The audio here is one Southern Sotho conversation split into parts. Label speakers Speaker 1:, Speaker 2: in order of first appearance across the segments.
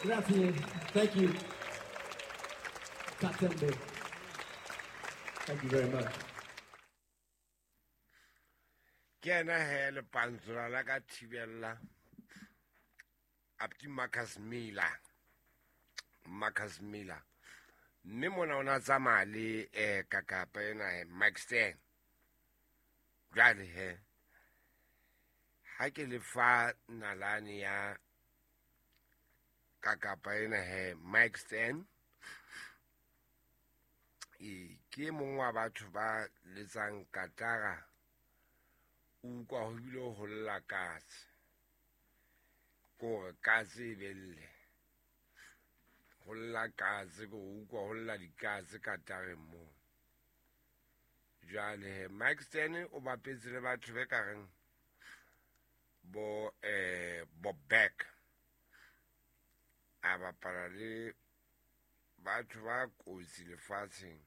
Speaker 1: Grazie. Thank you. Katembe. Thank you very much.
Speaker 2: Ke ena he lepantsola la ka thibella Apti Marcus Miller. Marcus Miller. Mme mona o na tsamaya le kakapa ena he Mike Stern. Jwale he ha ke le fa nalane ya kakapa ena he Mike Stern, e ke mong wa batho ba letsang katara, o utlwa ho bile ho lla katse, kore katse e belle ho lla katse, ko utlwa ho lla dikatse katareng moo. Jwale he Mike Stern o bapetse le batho be ka reng bo Bob Beck, a bapala le batho ba kotsi lefatsheng,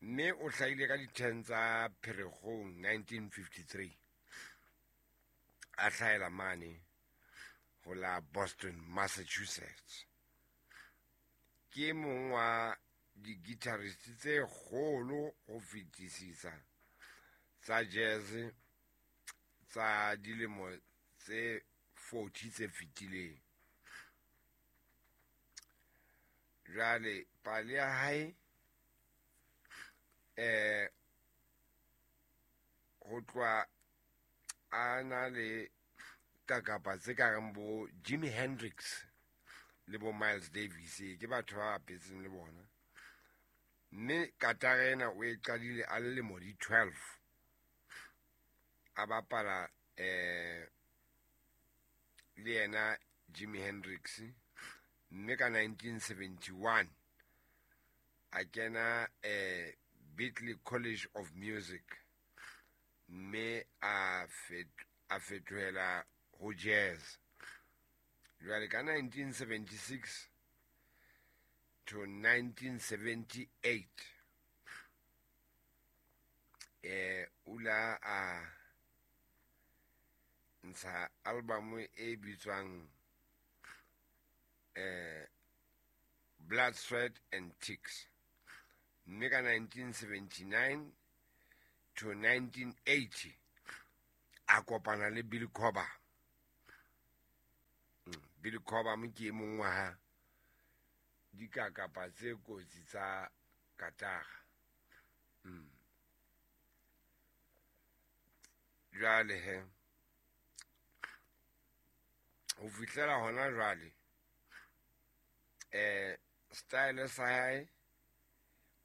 Speaker 2: mme o hlahile ka di-10 tsa Pherekgong 1953, a hlahela mane ho la Boston, Massachusetts. Ke mong wa di-guitarist tse kgolo ho fetisisa tsa jazz tsa dilemo tse 40 tse fetileng. Jwale pale ya hae ho tloha a na le kakapa tse ka reng bo Jimi Hendrix le bo Miles Davis, ke batho ba bapetseng le bona. Mme katara ena o e qadile a le lemo di 12, a bapala le yena Jimi Hendrix, mme ka 1971 a kena Berklee College of Music, mme a fetohela ho jazz. Jwale ka 1976 to 1978 ula a ntsha album e bitswang Blood, Sweat and Ticks, mme ka 1979 to 1980 a kopana le Billy Cobham. Billy Cobham ke e mong wa ha dikakapa tse kotsi tsa katara. Jwale he ho fihlela hona jwale style sa hae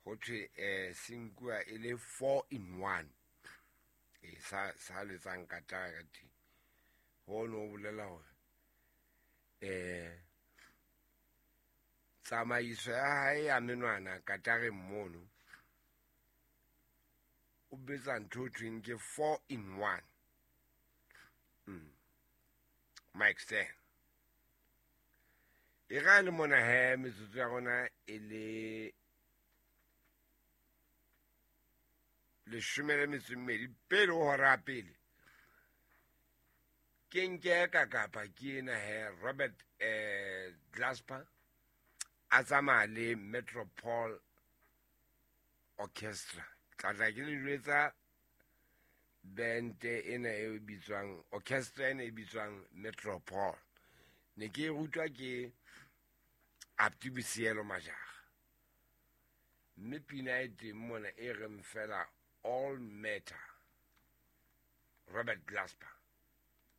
Speaker 2: ho thwe se nkuwa e le 4 in 1, sa letsang katara ka teng. Ho no bolela hore tsamaiso ya hae ya menwana katareng mono o betsa ntho ho thweng ke 4 in 1. Mike Stern. E ra le mona he metsotso ya rona e le 12 pele ho hora ya pele. Ke nke ka kapa ke ena he Robert Glasper a tsamaya le Metropole Orchestra. Tla ke le jwetsa band ena e bitswang orchestra ena e bitswang Metropole. Ne ke rutwa ke Abdi Bosielo Majara. Mme pina e teng mona e reng fela All Matter, Robert Glasper.